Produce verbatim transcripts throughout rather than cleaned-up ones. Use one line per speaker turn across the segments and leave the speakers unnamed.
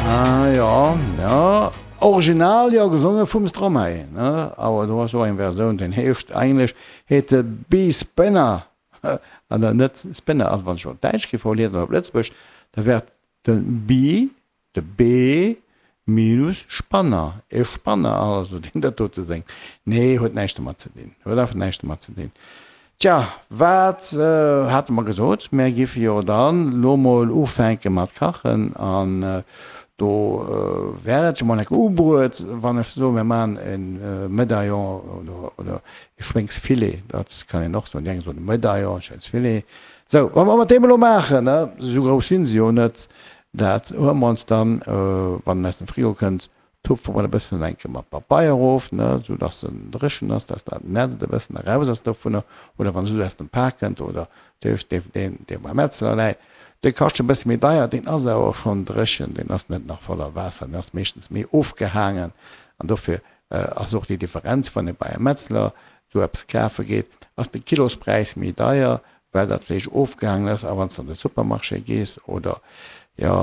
Ah jo, jo, original jo gesonge vum Stromae, ne? Awer do ass och eng Versioun, deen heescht eigentlech heet e Bee Spinner, an dann net Spinner, also wann ech op Däitsch géif verliesen oder op Lëtzebuergesch, da wär et de Bee, de B minus Spanner, e Spanner also, deen dat dote séngt. Nee, huet näischt domat ze dinn, huet einfach näischt domat ze dinn. Tja, wat hate mer gesot? Mär giffe jo dann lo mol ufänke mat kachen an do wär et jo mol enk ubruet, wann ech soen, mir maachen e Medaillon oder, oder e Schwéngsfilet, dat kann een och soen. Déi eng soen e Medaillon, e Schwéngsfilet. Sou, wa mer mat deem elo maachen, ne, esou grouss sinn se jo net, dat huele mer ons dann, wann en aus dem Frigo kënnt, Tupfe mer e bëssen enke mat Papeier of, ne, sou dass en dréchen ass, dass dat Nätzt e bëssen eraus ass dovunner, oder wann se sou aus dem Pak kënnt, oder duerch dee, deen, dee beim Metzler läit, dee kascht e bësse méi deier, deen ass awer och schonn dréchen, deen ass net nach voller Waasser, deen ass meeschtens méi ofgehaangen, an dofir ass och déi Differenz, wann ee bei e Metzler sou eppes kafe geet, ass de Kilospräis méi deier, well dat Fleesch ofgehaangen ass, a wann s de an de Supermarché gees oder, jo,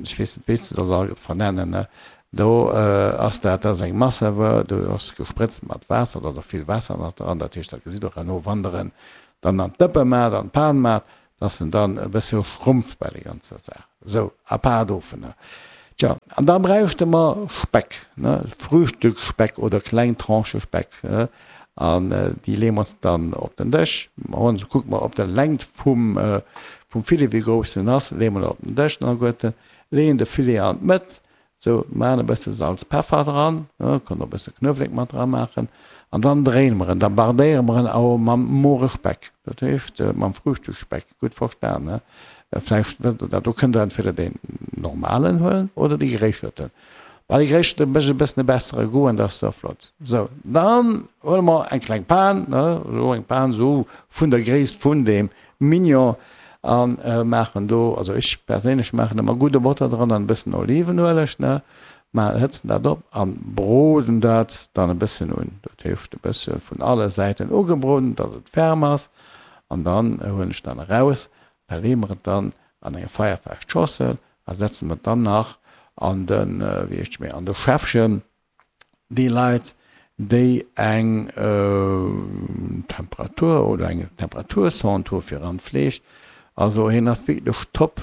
ech weess net, wéi s de se all vernennen, ne, do ass dat, dat ass eng Massewuer, do ass gesprëtzt mat Waasser, do ass och vill Waasser nach dran, dat heescht, dat gesitt och herno, wann der en dann an d'Dëppe maacht, an d'Pan maacht, dass en dann e bësse schrumpft bei der ganzer Saach. Esou, à part dovunner. Tja, an da bräichte mer Speck, ne, Frühstücksspeck oder kleng Tranchë Speck, an déi leeë mer ons dann op den Dësch. Mer hunn, kucke mer op der Längt vum, vum Filet, wéi grouss en ass, leeë mer op den Dësch dann alleguerten, leeën de Filet an d'Mëtt, sou, maachen e bësse Salz, Peffer dran, ne, kënnt och e bësse Knuewelek mat dra maachen, an dann dréine mer en, da bardéiere mer en awer mam more Speck, dat heescht mam Frühstücksspeck, gutt verstan, ne. Vläicht wësst Der dat, do kënnt Der entweder deen normalen huelen oder dee geréischerten. Well dee geréischerte mécht e bëssen e bessere Goût an dat ass da flott. Sou, dann huele mer eng kleng Pan, ne, esou eng Pan esou vun der Gréisst vun deem Mignon a maachen do, also ech perséinlech maachen ëmmer gudde Botter dran an e bëssen Olivenueleg, ne, ma hëtzen dat op a broden dat dann e bëssen un. Dat heescht e bësse vun alle Säiten ugebroden, dass et ferm ass an dann huelen ech dann eraus. Da leeë mer et dann an eng feierfest Schossel a setze mer et dann nach an de, wéi heescht méi, an de Schäffchen. Déi Leit, déi eng Temperatur oder eng Temperatursonde hu fir an d'Fleesch, also hien ass wierklech top,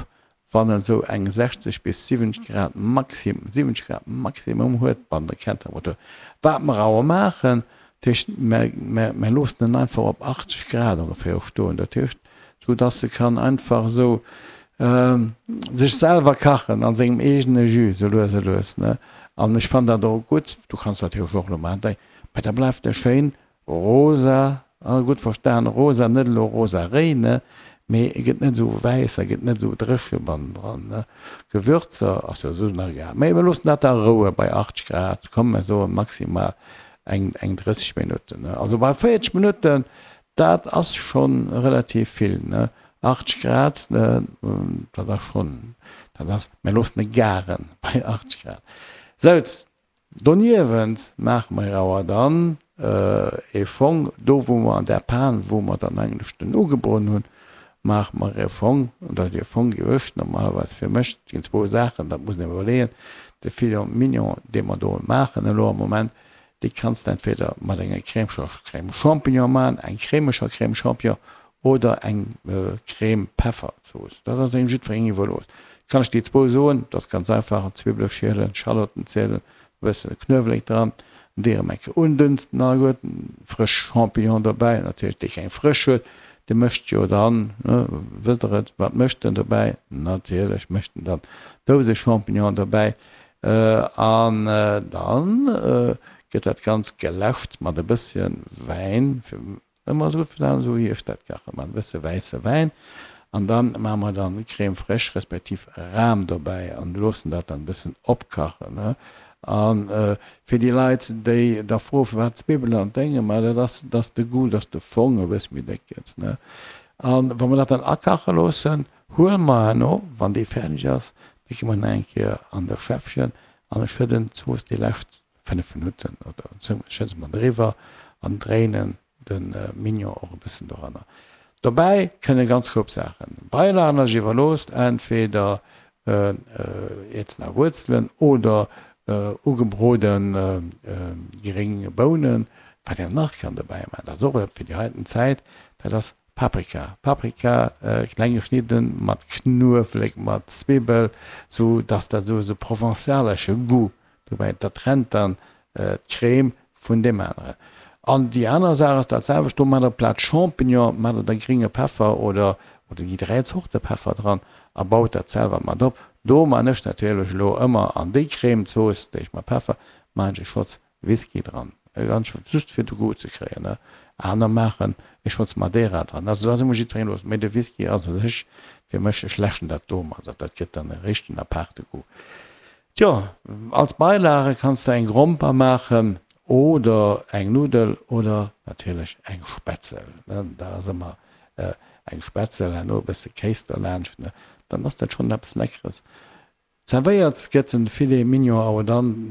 wann en esou eng sechzeg bis siwwenzeg Grad maxim, siwwenzeg Grad Maximum huet bei der Kerntemperatur. Wat mer awer maachen, dat heescht, mer, mer, mer loossen en einfach op achtzeg Grad ongeféier stoen, dat heescht, sou dass e kann einfach esou sech selwer kachen an sengem eegene Jus, sou lues a lues, ne. An ech fannen dat och gutt, du kanns dat natierlech och elo maachen, mä da bleift e schéin rosa, gutt verstan, rosa, net elo rosa réi, ne, mee e gëtt net esou wäiss a gëtt net esou dréche bannendran, ne. Gewürzer ass jo esou nach egal, mä mir loossen dat da roue bei achtzeg Grad, komm mer soe maximal eng eng drësseg Minutten, ne. Also bei véierzeg Minutten, dat ass schonn relativ vill, ne, achtzeg Grad, ne, dat ass schonn, dat ass, mir loossen e garen bei achtzeg Grad. Souz, doniewent maache mer awer dann e Fong, do wou mer an där Pan, wou mer dann eigentlech den ugebroden hunn, maache mer e Fong, oder dee Fong gewicht normalerweis fir mech, et ginn zwou Saachen, dat muss een iwwerleeën, de Filet mignon, dee mer do maachen elo am Moment, Déi kanns de entweder mat enger crèmeger Crème Champignon maachen, eng crèmeger Crème Champignon oder eng Crème Pefferzooss. Dat ass engem jiddwerengem iwwerlooss. Kann ech déi zwou soen, dat ass ganz einfach, Zwibbele schielen, Schallotten zielen, e bësse Knuewelek dran, déi erëm eng Kéier undünsten alleguerten, frësch Champignon dobäi, natierlech dee keng frësch huet, dee mécht jo dann, wësst der et, wat mécht en dobäi? Natierlech mécht en dann Douse-Champignon dobäi. An dann gëtt dat Ganzt geläscht mat e bësschen Wäin, fir ëmmer esou gutt verstan, esou wéi ech dat kachen, mat e bësse wäisse Wäin. An dann maache mer dann Crème fraîche respektiv Ram dobäi an loossen dat dann e bëssen opkachen. An fir déi Leit, déi da froen, firwat Zwibbelen an Dénge, ma dat ass, dass de Goût, dass de Fong e bësse méi déck gëtt. An wa mer dat dann akache loossen, huele mer herno, wann dee fäerdeg ass, da gi mer nach eng Kéier an de Schäffchen an ech schëdden d'Zooss déi lescht fënnef Minutten oder esou, schëdde mer driwwer an dréinen de Mignon och e bëssen doranner. Dobäi kënne ganz koup Saachen. Beilagen ass iwwerlooss, entweder Ierzen a Wuerzelen oder ugebroden gréng Bounen. Wat een nach kann dobäi maachen, dat ass och fir déi heiten Zäit, dat ass Paprika. Paprika kleng geschnidden, mat Knuewelek, mat Zwibbel, sou dass dat sou e provençalesche Goût dobäi, dat trennt dann d'Crème vun deem aneren. An déi aner Saach ass dat selwecht, do maacht der plaz Champignon, maacht der da grénge Peffer oder oder déi dräi Zorte Peffer dran a baut dat selwer mat op. Do maan ech natierlech elo ëmmer an déi Crème-Zooss, déi ech mat Peffer, maan ech e Schotz Whisky dran, ganz just fir de Goût ze kréien, ne. Aner maachen e Schotz Madeira dran. Also dat ass ëmmer jiddwerengem iwwerlooss, mee de Whisky ass u sech fir mech, ech läschen dat domadder, dat gëtt dann e richtegen aparte Goût. Tjo, als Beilage kanns de eng Gromper maachen oder eng Nuddel oder natierlech eng Spätzel, ne. Dat ass ëmmer eng Spätzel, herno e bësse Kéis derlaanscht, ne, dann ass dat schonn eppes Leckeres. Zerwéiert gëtt den Filet mignon awer dann,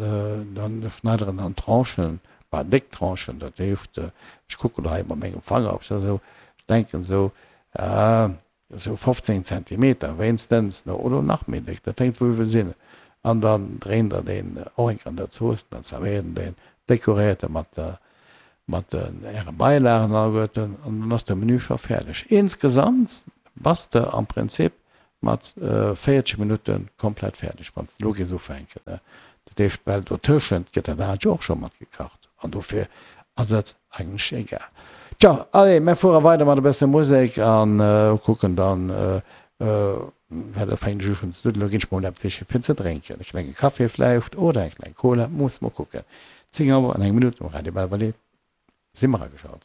dann schneit der en an Tranchen, bah déck Tranchen, dat heescht, ech kucken elo hei mat mengem Fanger op esou, ech denken esou, esou fofzéng Zentimeter wéinstens, ne, oder nach méi déck, dat hänkt wou sinn. An dann dréint der deen och eng Kéier an der Zooss, dann zerwéiert der deen, dekoréiert e mat der mat den äre Beilagen alleguerten an dann ass de Menü scho fäerdeg. Insgesamt bass de am Prinzip mat véierzeg Minutte komplett fäerdeg, wann s de elo géifs ufänken. Dat heescht, well dotëschent gëtt dat anert jo och scho mat gekacht an dofir ass et eigentlech egal. Tjo, allez, mär fuere weider mat e bësse Musek a kucken dann, well elo fänken ech u schonn ze duddelen, elo ginn ech mol eppes siche fir ze drénken, e klenge Café vläicht oder eng kleng Cola, musse mer kucken. Zéng Auer an eng Minutt um Radio Belval, si mer ageschalt.